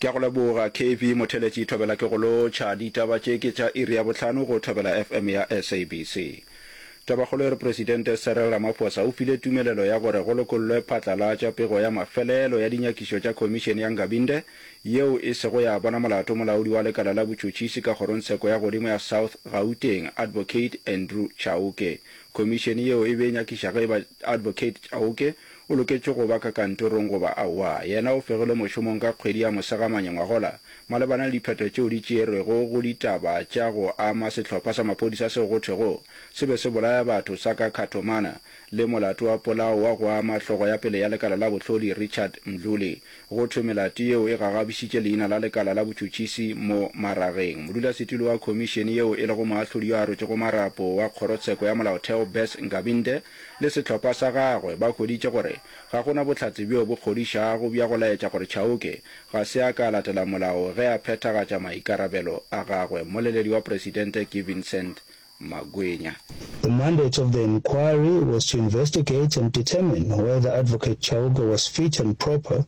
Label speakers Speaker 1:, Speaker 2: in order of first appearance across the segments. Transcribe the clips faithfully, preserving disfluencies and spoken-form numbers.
Speaker 1: Ke a go leboga K V Motheletši Thobela ke go lotšha. Ditaba tše ke tša iri ya bohlano go Thobela F M ya S A B C. Tabakgolo e re Presidente Cyril Ramaphosa o file tumelelo ya gore go lokollwe phatlalatša pego ya mafelelo ya dinyakišo tša Khomišene ya Nkabinde yeo e sego ya bona molato molaodi wa lekala la botšhotšhisi ka kgorongtsheko ya godimo ya South Gauteng Advocate Andrew Chauke. Khomišene yeo e be e nyakiša ge e ba Advocate Chauke o loketše go ba ka kantorong goba aowa. Yena o fegilwe mošomong ka kgwedi ya Mosegamanye ngwagola malebana le diphetho tšeo di tšerwego go ditaba tša go ama sehlopha sa maphodisa seo go thwego se be se bolaya batho sa ka Khathomana le molato wa polao wa go ama hlogo ya pele ya lekala la bohlodi Richard Mdluli. Go thwe melato yeo e gagabišitše leina la lekala la botšhotšhisi mo marageng. Modulasetulo wa khomišene yeo e lego moahlodi yo a rotšego marapo wa kgorotsheko ya molaotheo Bess Nkabinde le sehlopha sa gagwe ba hweditše gore ga go na bohlatse bjo bo kgodišago bja go laetša gore Chauke ga se a ka a latela molao ge a phethagatša maikarabelo a gagwe. Mmoleledi wa presidente ke Vincent Magwenya.
Speaker 2: The mandate of the inquiry was to investigate and determine whether Advocate Chauke was fit and proper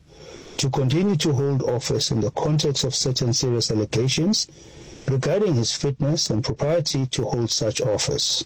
Speaker 2: to continue to hold office in the context of certain serious allegations regarding his fitness and propriety to hold such office.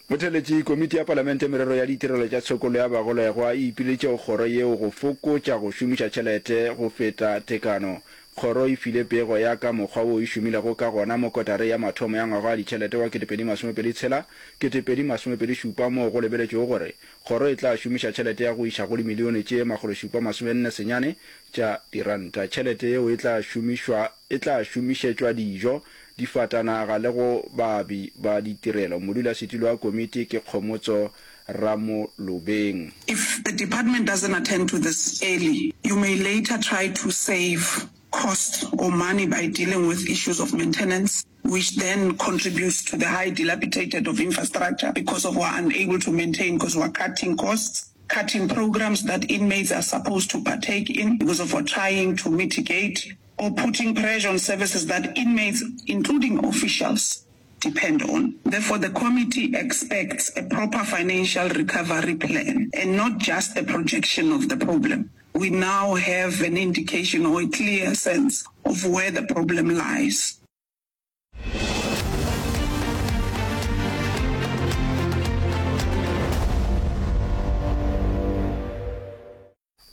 Speaker 1: Motheletši, Komiti ya Palamente Merero ya Ditirelo tša Tshokollo ya Bagolegwa e ipileditše go kgoro yeo go fokotša go šomiša tšhelete go feta tekano. Kgoro e file pego ya ka mokgwa wo e šomilego ka gona mo kotareng ya mathomo ya ngwaga wa ditšhelete wa kete pedi masome pedi tshela, kete pedi masome pedi šupa moo go lebeletšwego gore kgoro e tla šomiša tšhelete ya go iša go dimilione tše makgolo šupa masome nne senyane tša diranta. Tšhelete yeo e tla šomišwa e tla šomišetšwa dijo, difatanaga le go baabi ba ditirelo. Modulasetulo wa komiti ke Kgomotso Ramolobeng.
Speaker 3: If the department doesn't attend to this early, you may later try to save cost or money by dealing with issues of maintenance, which then contributes to the high dilapidated of infrastructure because of we're unable to maintain because we're cutting costs, cutting programs that inmates are supposed to partake in because of we're trying to mitigate or putting pressure on services that inmates, including officials, depend on. Therefore, the committee expects a proper financial recovery plan and not just a projection of the problem. We now have an indication or a clear sense of where the problem lies.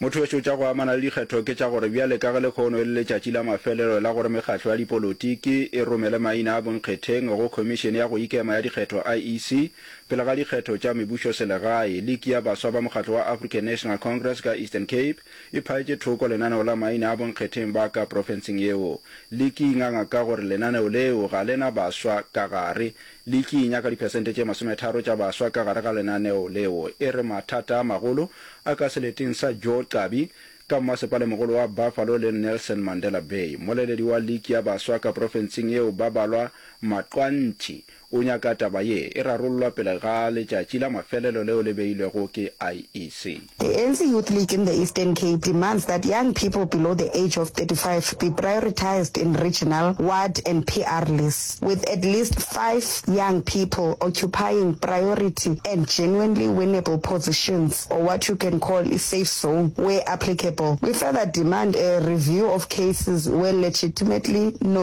Speaker 1: Motho tša go amana le dikgetho ke tša gore bjale ka ge lehono e le letšatši la mafelelo la gore mekgatlo ya dipolotiki e romele maina a bonkgetheng go Khomišene ya go Ikema ya Dikgetho I E C pele ga dikgetho tša mebušo selegae. Liki ya baswa ba mokgatlo wa African National Congress ka Eastern Cape e phaetše thoko lenaneo la maina a bonkgetheng ba ka profenseng yeo. Liki e nganga ka gore lenaneo leo ga le na baswa ka gare. Liki e nyaka diphesente tše masometharo tša baswa ka gare ga lenaneo leo. E re mathata a magolo a ka seleteng sa Joe Gqabi ka mmasepalemogolo wa Buffalo le Nelson Mandela Bay. Mmoleledi wa liki ya baswa ka profenseng yeo Babalwa Maqwanthi o nyaka taba ye e rarollwa pele ga letšatši la mafelelo leo le beilwego ke I E C.
Speaker 4: The A N C Youth League in the Eastern Cape demands that young people below the age of thirty-five be prioritised in regional, ward and P R lists, with at least five young people occupying priority and genuinely winnable positions, or what you can call a safe zone, where applicable. We further demand a review of cases where legitimately